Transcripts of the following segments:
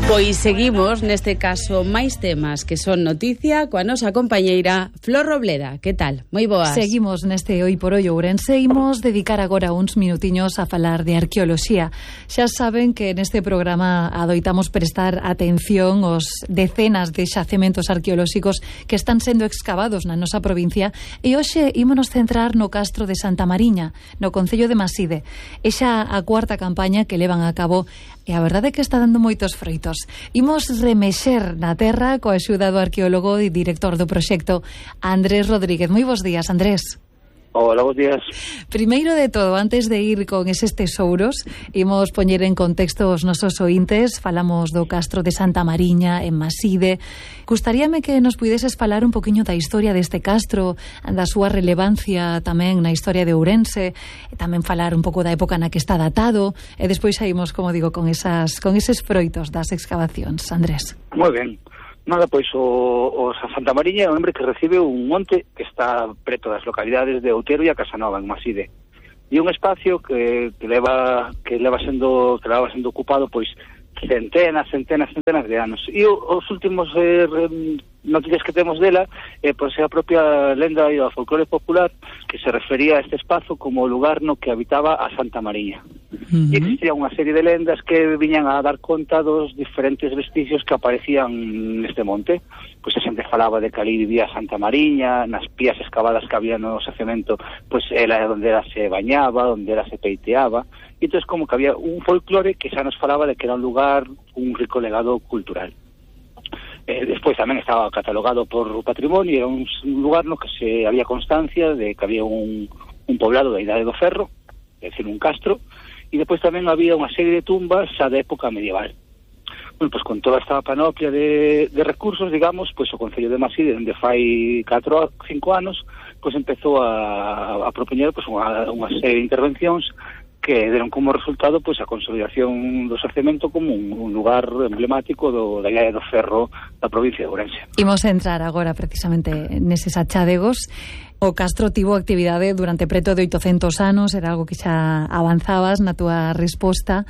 Pois seguimos, neste caso, máis temas que son noticia coa nosa compañeira Flor Robleda. Que tal? Moi boas. Seguimos neste Hoy por Hoy Ourense. Imos dedicar agora uns minutiños a falar de arqueoloxía. Xa saben que neste programa adoitamos prestar atención aos decenas de xacementos arqueolóxicos que están sendo excavados na nosa provincia, e hoxe ímonos centrar no castro de Santa Mariña, no concello de Maside. É xa a cuarta campaña que levan a cabo e a verdade é que está dando moitos froitos. Imos remexer na terra coa axuda do arqueólogo e director do proxecto, Andrés Rodríguez. Moi bons días, Andrés. Hola, bons días. Primeiro de todo, antes de ir con eses tesouros, imos poñer en contexto os nosos ointes. Falamos do castro de Santa Mariña, en Maside. Gustaríame que nos puideses falar un poquinho da historia deste castro, da súa relevancia tamén na historia de Ourense, e tamén falar un pouco da época na que está datado, e despois saímos, como digo, con eses froitos das excavacións. Andrés. Moi ben. Nada, pois o Santa Mariña é un nombre que recibe un monte que está preto das localidades de Outero e a Casanova, en Maside. E un espacio que leva sendo ocupado pois centenas de anos. E os últimos noticias que temos dela pois é a propia lenda e o folclore popular que se refería a este espazo como o lugar no que habitaba a Santa Mariña. E existía unha serie de lendas que viñan a dar conta dos diferentes vestigios que aparecían neste monte. Pois a xente falaba de que ali vivía Santa Mariña, nas pías excavadas que había no xacemento, pois era onde ela se bañaba, onde ela se peiteaba. E entón como que había un folclore que xa nos falaba de que era un lugar, un rico legado cultural. Despois tamén estaba catalogado por patrimonio, era un lugar no que se había constancia de que había un poblado da Idade do Ferro, é dicir, un castro, e depois tamén había unha serie de tumbas xa de época medieval. Bueno, pois con toda esta panoplia de recursos, digamos, pois o Concello de Maside, onde fai 4 ou 5 anos, pois empezou a propoñer pois unha serie de intervencións que deron como resultado pois a consolidación do xacemento como un lugar emblemático da Idade do Ferro da provincia de Ourense. Imos entrar agora precisamente neses achádegos. O castro tivo actividade durante preto de 800 anos, era algo que xa avanzabas na túa resposta,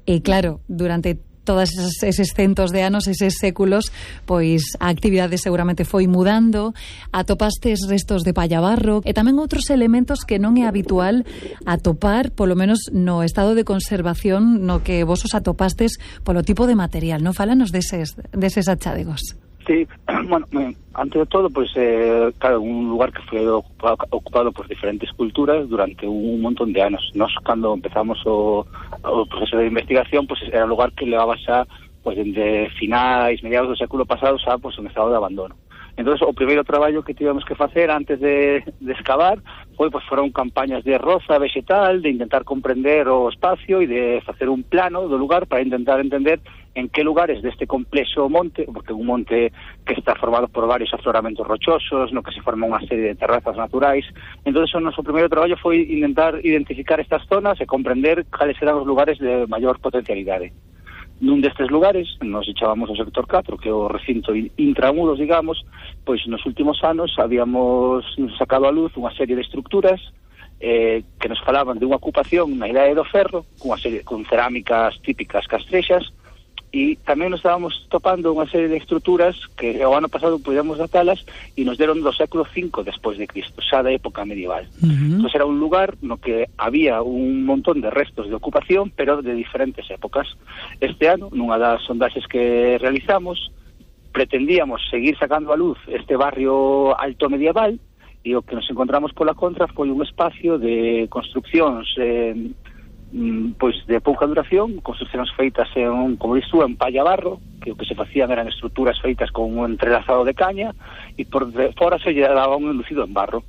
e claro, durante todos eses centos de anos, eses séculos, pois a actividade seguramente foi mudando, atopastes restos de pallabarro e tamén outros elementos que non é habitual atopar, polo menos no estado de conservación no que vos os atopastes polo tipo de material, non? Fálanos deses achádegos. Sí, bueno, antes de todo, pois, claro, un lugar que foi ocupado por diferentes culturas durante un montón de anos. Nós, cando empezamos o proceso de investigación, pois, era un lugar que levaba xa, pois, dende finais, mediados do século pasado, xa, pois, en estado de abandono. Entón, o primeiro traballo que tivemos que facer antes de excavar foi, pois, foron campañas de roza vegetal, de intentar comprender o espacio e de facer un plano do lugar para intentar entender en que lugares deste complexo monte, porque é un monte que está formado por varios afloramentos rochosos, no que se forma unha serie de terrazas naturais. Entón, o noso primeiro traballo foi intentar identificar estas zonas e comprender cales eran os lugares de maior potencialidade. Nun destes lugares, nos echábamos o sector 4, que é o recinto intramuros, digamos, pois nos últimos anos habíamos sacado a luz unha serie de estructuras que nos falaban de unha ocupación na Idade do Ferro, con cerámicas típicas castrexas, e tamén nos estábamos topando unha serie de estruturas que o ano pasado podíamos datalas e nos deron do século V despois de Cristo, xa da época medieval. Entón era un lugar no que había un montón de restos de ocupación, pero de diferentes épocas. Este ano, nunha das sondaxes que realizamos, pretendíamos seguir sacando a luz este barrio alto medieval, e o que nos encontramos pola contra foi un espacio de construccións pois de pouca duración, construccións feitas como disto, en pallabarro, que o que se facían eran estruturas feitas con un entrelazado de caña, e por fora se lle daba un enlucido en barro.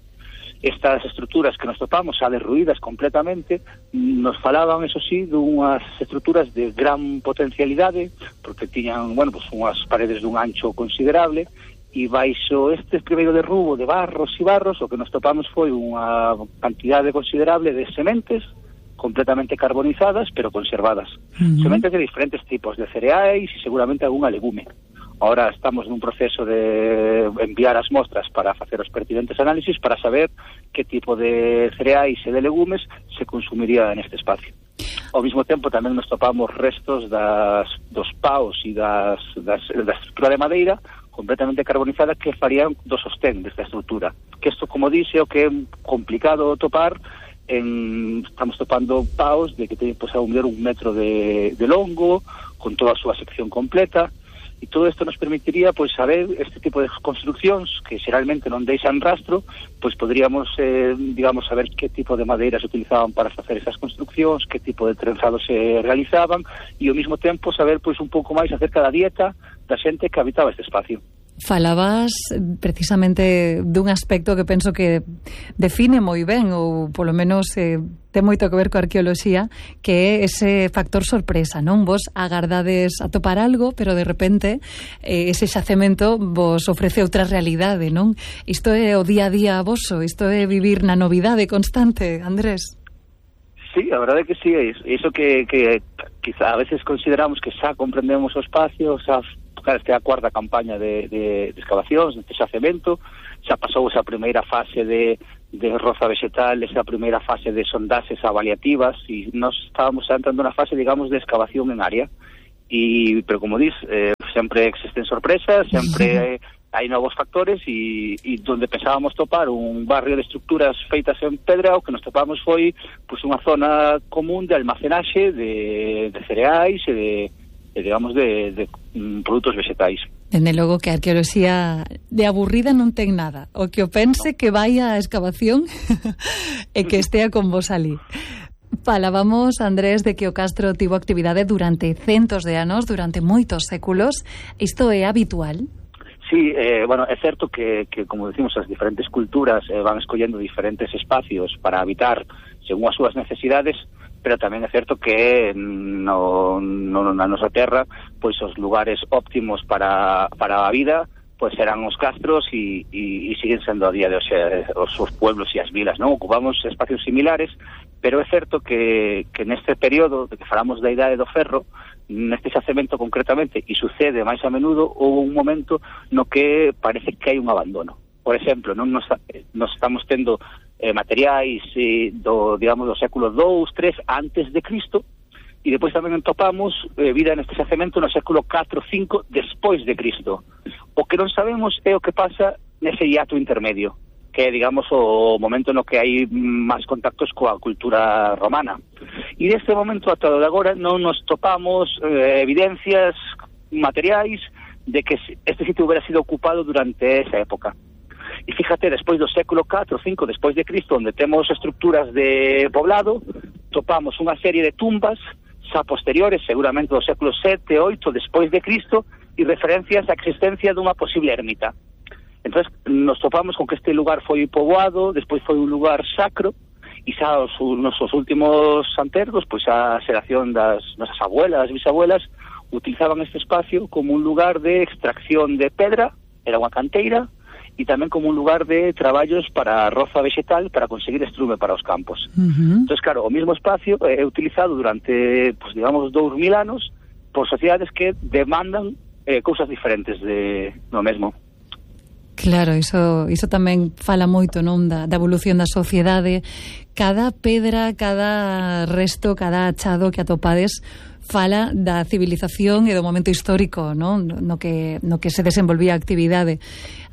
Estas estruturas que nos topamos, xa derruídas completamente, nos falaban, eso sí, dunhas estruturas de gran potencialidade, porque tiñan, bueno, pues unhas paredes dun ancho considerable, e baixo este primeiro derrubo de barros e barros, o que nos topamos foi unha cantidade considerable de sementes, completamente carbonizadas, pero conservadas. Sementes de diferentes tipos, de cereais e seguramente algunha legume. Ahora estamos nun proceso de enviar as mostras para facer os pertinentes análisis para saber que tipo de cereais e de legumes se consumiría neste espacio. Ao mesmo tempo tamén nos topamos restos dos paus e da estrutura de madeira completamente carbonizada que farían do sostén desta estrutura. Que isto, como dixe, o que é complicado topar, estamos topando paus de que teñen pues, a un metro de longo, con toda a súa sección completa, e todo isto nos permitiría pois saber este tipo de construccións que xeralmente non deixan rastro, pois poderíamos digamos saber que tipo de madeira se utilizaban para facer esas construccións, que tipo de trenzados se realizaban e ao mesmo tempo saber pois un pouco máis acerca da dieta da xente que habitaba este espacio. Falabas precisamente dun aspecto que penso que define moi ben, ou polo menos ten moito que ver coa arqueoloxía, que é ese factor sorpresa, non? Vos agardades a topar algo, pero de repente ese xacemento vos ofrece outra realidade, non? Isto é o día a día voso, isto é vivir na novidade constante, Andrés. Sí, a verdade é que sí, é iso que quizá a veces consideramos que xa comprendemos o espacio, xa esta é a cuarta campaña de excavacións, deste xacemento, xa pasou esa primeira fase de roza vegetal, esa primeira fase de sondaxes avaliativas, e nós estábamos entrando na fase, digamos, de excavación en área, pero como dis, sempre existen sorpresas, sempre hai novos factores, e donde pensábamos topar un barrio de estructuras feitas en pedra, o que nos topamos foi pues, unha zona común de almacenaxe de cereais e digamos de produtos vegetais. Dende logo que a arqueoloxía de aburrida non ten nada. O que o pense que vai á excavación e que estea con vos ali. Falábamos, Andrés, de que o castro tivo actividade durante centos de anos, durante moitos séculos. Isto é habitual? Sí, bueno, é certo que como decimos, as diferentes culturas van escollendo diferentes espacios para habitar según as súas necesidades, pero tamén é certo que na nosa terra pois os lugares óptimos para a vida pois serán os castros e siguen sendo a día de hoxe os pueblos e as vilas, non? Ocupamos espacios similares, pero é certo que neste período de que falamos da Idade do Ferro, neste xacemento concretamente, e sucede máis a menudo, houve un momento no que parece que hai un abandono. Por exemplo, non nos estamos tendo materiais do século 2, 3 antes de Cristo, e depois tamén topamos vida neste xacemento no século 4, 5 despois de Cristo. O que non sabemos é o que pasa nese hiato intermedio, que é, digamos, o momento no que hai máis contactos coa cultura romana. E neste momento, ata de agora, non nos topamos evidencias materiais de que este sitio hubiera sido ocupado durante esa época. E fíjate, despois do século 4 ou 5 despois de Cristo, onde temos estructuras de poblado, topamos unha serie de tumbas xa posteriores, seguramente do século 7, 8 despois de Cristo, e referencias á existencia dunha posible ermita. Entón, nos topamos con que este lugar foi poboado, despois foi un lugar sacro, e xa os nosos últimos antergos, pois a xeración das nosas abuelas, bisabuelas, utilizaban este espacio como un lugar de extracción de pedra, era unha canteira, e tamén como un lugar de traballos para a roza vegetal para conseguir estrume para os campos. Entón, claro, o mesmo espacio é utilizado durante, pues, digamos, 2000 anos por sociedades que demandan cousas diferentes do mesmo. Claro, iso tamén fala moito, non, da evolución da sociedade. Cada pedra, cada resto, cada achado que atopades fala da civilización e do momento histórico, non? No que se desenvolvía a actividade.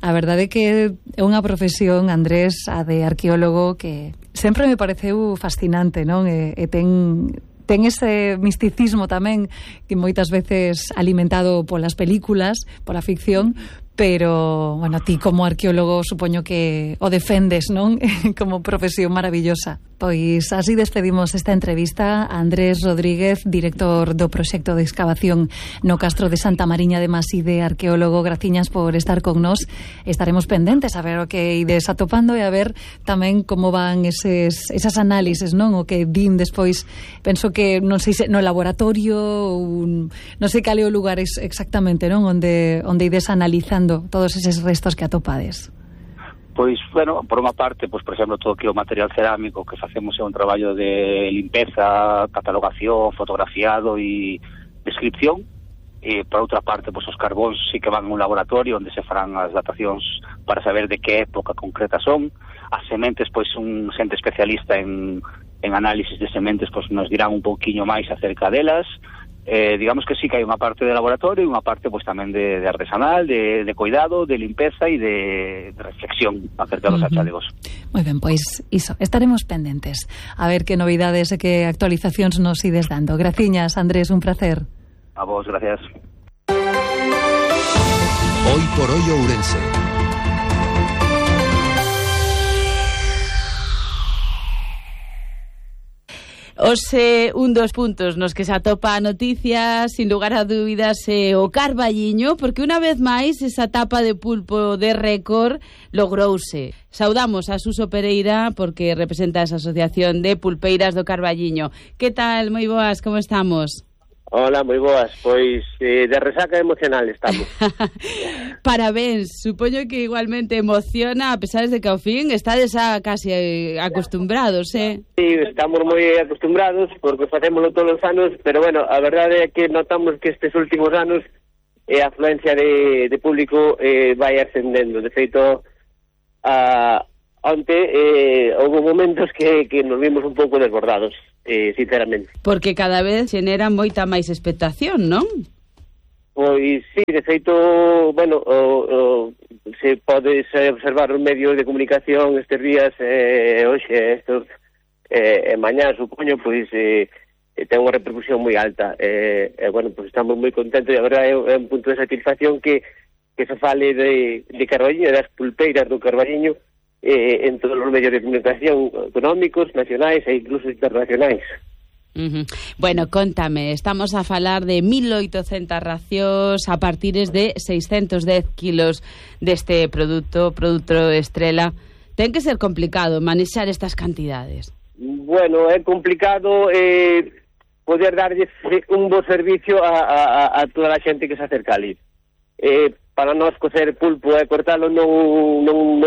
A verdade é que é unha profesión, Andrés, a de arqueólogo, que sempre me pareceu fascinante, non? E ten ese misticismo tamén que moitas veces alimentado polas películas, pola ficción, pero, bueno, ti como arqueólogo supoño que o defendes, non? Como profesión maravillosa. Pois así despedimos esta entrevista a Andrés Rodríguez, director do proxecto de excavación no Castro de Santa Mariña de Maside, arqueólogo. Graciñas por estar con nós. Estaremos pendentes a ver o que ides atopando e a ver tamén como van esas análises, non? O que din despois, penso que non sei se no laboratorio ou non sei cal é o lugar exactamente, non? Onde ides analizando todos eses restos que atopades. Pois, bueno, por unha parte, pois, por exemplo, todo que o material cerámico que facemos é un traballo de limpeza, catalogación, fotografiado e descripción. E, por outra parte, pois, os carbóns sí que van a un laboratorio onde se farán as datacións para saber de que época concreta son. As sementes, pois, un xente especialista en en análisis de sementes pues nos dirán un poquinho máis acerca delas. Digamos que sí que hai unha parte de laboratorio e unha parte pues tamén de artesanal, de cuidado, de limpeza e de reflexión acerca dos achalegos. Moi ben, pois iso, estaremos pendentes a ver que novidades e que actualizacións nos ides dando. Graciñas, Andrés, un placer. A vos, gracias. Hoy por hoy Ourense. Un dos puntos nos que se atopa a noticia, sin lugar a dúbidas, o Carballiño, porque unha vez máis esa tapa de pulpo de récord logrouse. Saudamos a Suso Pereira porque representa esa asociación de pulpeiras do Carballiño. Que tal? Moi boas, como estamos? Hola, moi boas, pois de resaca emocional estamos. Parabéns, supoño que igualmente emociona, a pesar de que ao fin estades casi acostumbrados, Sí, estamos moi acostumbrados porque facémoslo todos os anos, pero bueno, a verdade é que notamos que estes últimos anos a afluencia de público vai ascendendo. De feito, onte houve momentos que nos vimos un pouco desbordados, sinceramente. Porque cada vez xenera moita máis expectación, non? Pois sí, de feito, bueno, se pode observar os medios de comunicación estes días, hoxe, estos, mañá, supoño, pois ten unha repercusión moi alta. Bueno, pois estamos moi contentos e a verdade é un punto de satisfacción que se fale de Carballiño, das pulpeiras do Carballiño, en todos os medios de comunicación económicos, nacionais e incluso internacionais. Bueno, contame, estamos a falar de 1.800 racións a partires de 610 kilos deste produto estrela. Ten que ser complicado manexar estas cantidades. Bueno, é complicado poder darlle un bo servicio a toda a xente que se acerca ali. Para nós cocer pulpo e cortalo non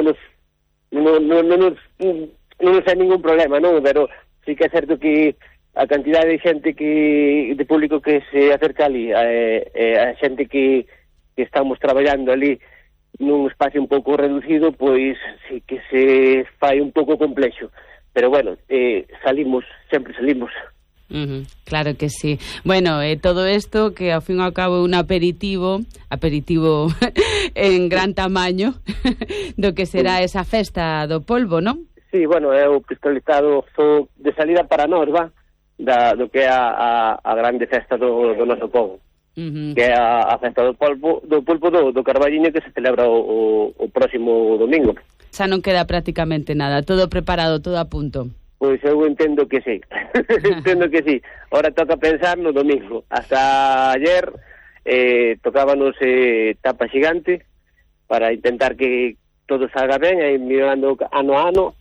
é ningún problema, non? Pero sí que é certo que a cantidade de xente de público que se acerca ali, a xente que estamos traballando ali nun espacio un pouco reducido, pois sí que se fai un pouco complexo. Pero bueno, sempre salimos. Claro que sí. Bueno, todo isto que ao fin e ao cabo é un aperitivo en gran tamaño do que será esa festa do polvo, non? Sí, bueno, é o cristalizado de salida para nós, do que é a grande festa do noso povo, que é a festa do pulpo do Carballiño, que se celebra o próximo domingo. Xa non queda prácticamente nada, todo preparado, todo a punto. Pois eu entendo que sí. Entendo que sí. Ahora toca pensar no domingo. Hasta ayer tocábanos tapa xigante para intentar que todo salga ben, e mirando ano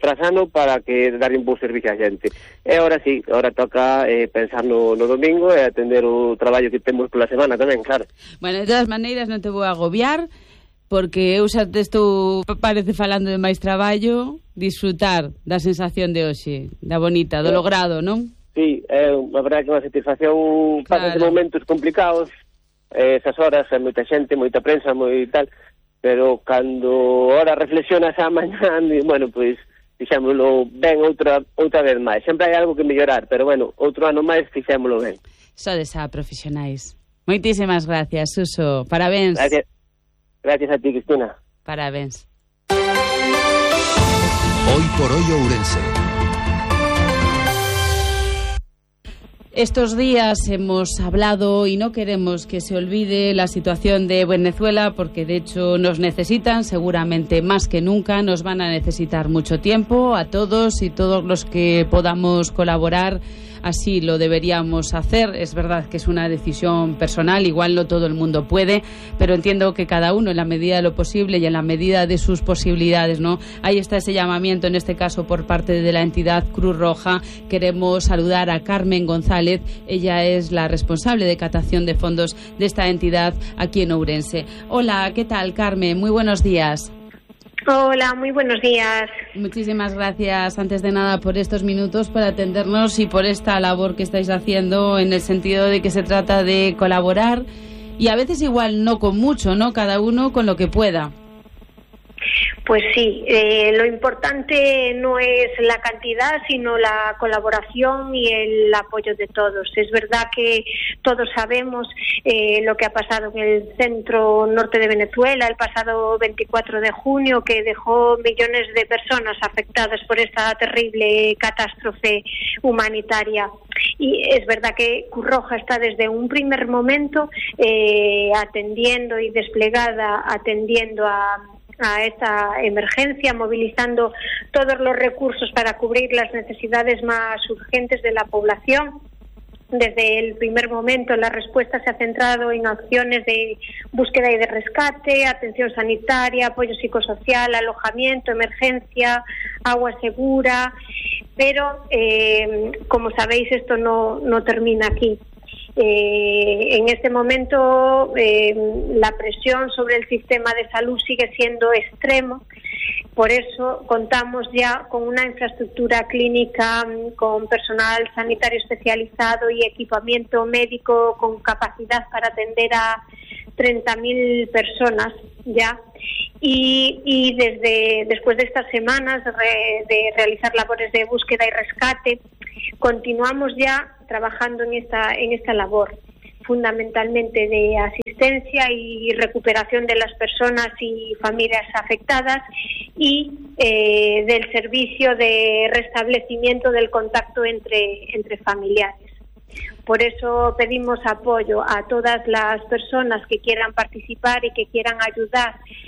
tras ano, para que dar un bo servicio a xente. E ahora sí, ahora toca pensar no domingo e atender o traballo que temos pola semana tamén, claro. Bueno, de todas maneiras non te vou agobiar, porque eu xa te estou, parece, falando de máis traballo, disfrutar da sensación de hoxe, da bonita, do logrado, non? Sí, é a verdade que unha satisfacción. Claro. Pasan momentos complicados, esas horas, hai moita xente, moita prensa, moi tal, pero cando ahora reflexionas a mañá, bueno, pois fixémolo ben outra vez máis. Sempre hai algo que mellorar, pero bueno, outro ano máis fixémolo ben. Sodes a profesionais. Moitísimas gracias, Suso. Parabéns. Gracias a ti, Cristina. Parabéns. Hoy por hoy Ourense. Estos días hemos hablado y no queremos que se olvide la situación de Venezuela, porque de hecho nos necesitan seguramente más que nunca, nos van a necesitar mucho tiempo a todos, y todos los que podamos colaborar así lo deberíamos hacer. Es verdad que es una decisión personal, igual no todo el mundo puede, pero entiendo que cada uno en la medida de lo posible y en la medida de sus posibilidades, ¿no? Ahí está ese llamamiento, en este caso por parte de la entidad Cruz Roja. Queremos saludar a Carmen González, ella es la responsable de captación de fondos de esta entidad aquí en Ourense. Hola, ¿qué tal, Carmen? Muy buenos días. Hola, muy buenos días. Muchísimas gracias, antes de nada, por estos minutos para atendernos y por esta labor que estáis haciendo, en el sentido de que se trata de colaborar, y a veces igual no con mucho, ¿no? Cada uno con lo que pueda. Pues sí, lo importante no es la cantidad, sino la colaboración y el apoyo de todos. Es verdad que todos sabemos lo que ha pasado en el centro norte de Venezuela el pasado 24 de junio, que dejó millones de personas afectadas por esta terrible catástrofe humanitaria. Y es verdad que Cruz Roja está desde un primer momento atendiendo y desplegada, atendiendo a esta emergencia, movilizando todos los recursos para cubrir las necesidades más urgentes de la población. Desde el primer momento la respuesta se ha centrado en acciones de búsqueda y de rescate, atención sanitaria, apoyo psicosocial, alojamiento, emergencia, agua segura, pero como sabéis esto no termina aquí. En este momento la presión sobre el sistema de salud sigue siendo extremo. Por eso contamos ya con una infraestructura clínica, con personal sanitario especializado y equipamiento médico con capacidad para atender a 30.000 personas ya. Y después de estas semanas de realizar labores de búsqueda y rescate, continuamos ya trabajando en esta labor, fundamentalmente de asistencia y recuperación de las personas y familias afectadas y del servicio de restablecimiento del contacto entre familiares. Por eso pedimos apoyo a todas las personas que quieran participar y que quieran ayudar